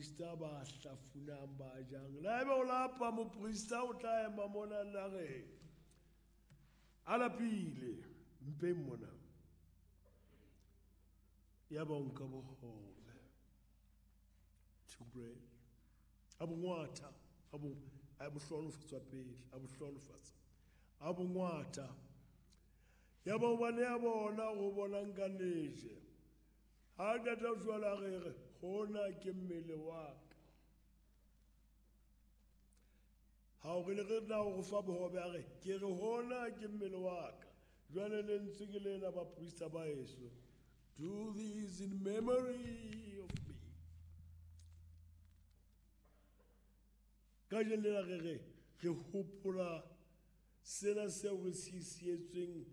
baprista ba hlafunang ba jang. Le haeba o lapa moprista o tla ema mona nageng a lapile mpeng mona. Ya ba o nka bohobe, two bread, a bo ngwatha, a bo hlohonolofatsa pele, a bo hlohonolofatsa, a bo ngwatha. Ya ba o ba nea bona go bona nka leje. Ha qeta jwale a re re hona ke mmele wa ka. Ha o re le re na o fa bohobe a re ke re hona ke mmele wa ka. Jwale lentswe ke lena baprista ba heso. Do this in memory of me. Kajeno lena re re re hopola sena seo re se sietsweng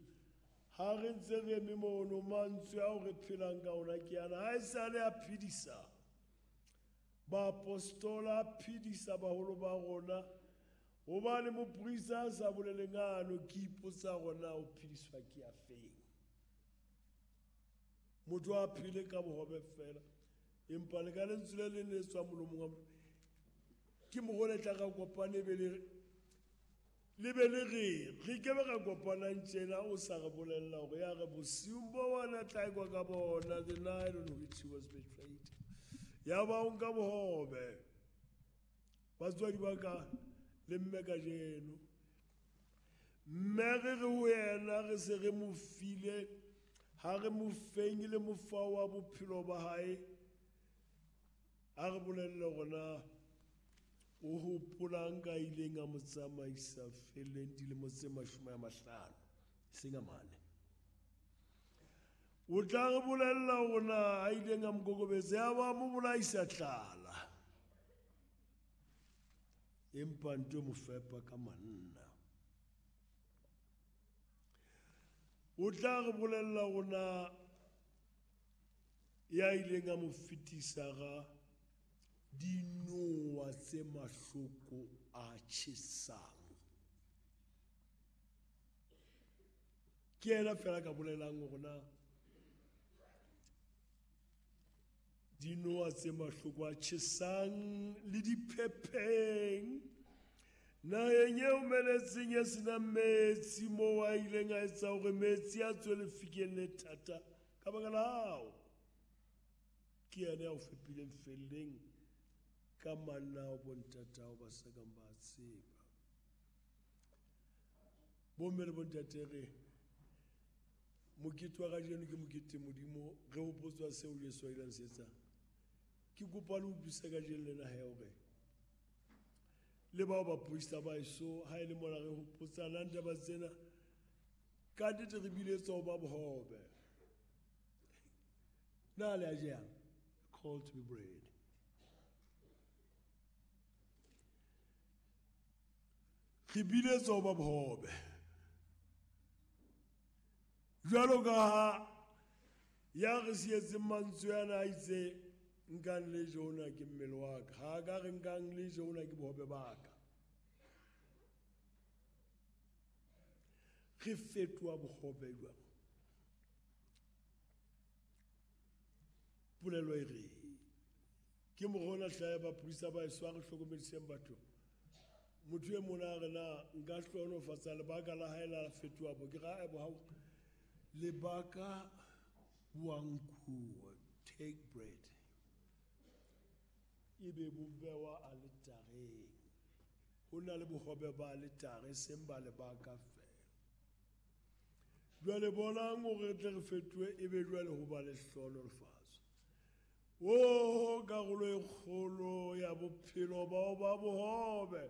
ha re ntse re eme mono. Mantswe ao re phelang ka ona ke ana. Ha esale a phedisa baapostola, a phedisa baholo ba rona. Hobane moprista a sa boleleng ano, ke ipotsa rona o phediswa ke a feng. Motho a phele ka bohobe fela, empa le ka lentswe le leng le tswang molomong wa motho. Ke morole tla ka kopane be le le be le re re ke be ra kopanang tjena o sa re bolella hore ya re bosiung bo bona tla ekwa ka bona, the night on which he was betrayed. Ya ba o nka bohobe. Batswadi ba ka le mme kajeno, mme re re ho yena re se re mo file, ha re mo feng le mofa wa bophelo ba hae. A re bolelle hore na o hopolang ka ileng a mo tsamaisa feleng dilemo tse 50, seng a mane. O tla re bolella hore na a ileng a mo kokobetsa, ya ba mo bolaisa tlala, empa nto mo fepa ka manna. O tla re bolella hore na ya ileng a mo fetisa ga dinowa tse mahloko a tjhesang. Ke yena fela ka bolelang hore na dinowa tse mahloko a tjhesang le diphepheng naheng e omeletseng e senang metsi, moo a ileng a etsa hore metsi a tswe lefikeng le thata ka baka la hao. Ke yena ya o fepileng felleng ka manna ao bontatao ba sa kang ba tseba. Bomme le bontate, re mokete wa kajeno ke mokete Modimo re hopotswa seo Jesu a ileng se etsa. Ke kopa le utlwisise kajeno lena he hore le bao baprista ba heso ha e le mona re hopotsanang taba tsena, ka nnete re biletswa ho ba bohobe. Na le a jang? Called to be bread. Re biletswa ho ba bohobe. Jwalo ka ha ya re sietseng mantswe ana a itse nkang le je hona ke mmele wa ka, ha ka re nkang le je hona ke bohobe ba ka. Re fetoha bohobe jwang? Polelo e re ke morona hlaha baprista ba heso, a re hlokomediseng batho. Motho e mona a re na nka hlohonolofatsa lebaka la hae la fetoha bo. Ke ra ebo hao lebaka wa nkuwa, take bread, ebe bo bewa aletareng. Ho na le bohobe ba aletare, seng ba lebaka fela. Jwale bonang hore re tle re fetohe, ebe jwale ho ba le hlohonolofatso. O karolo e kgolo ya bophelo ba ho ba bohobe.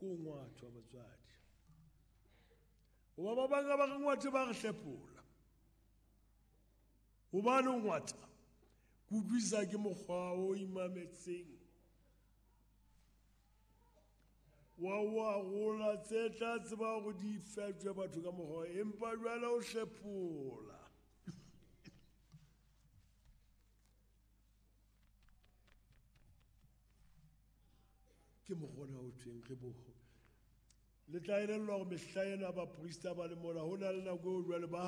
Ko ngwathwa batswadi. Hoba ba bang ba re ngwathe ba re hlepola. Hobane o ngwatha, ke utlwisisa ke mokgwa o imametseng wa wa rola tse tla tseba hore di fetjwe batho ka mokgwa, empa jwale o hlepola. Ke mokgwa o thweng re boho. Le tla elellwa hore mehla ena baprista ba le mona, ho na le nako eo jwale ba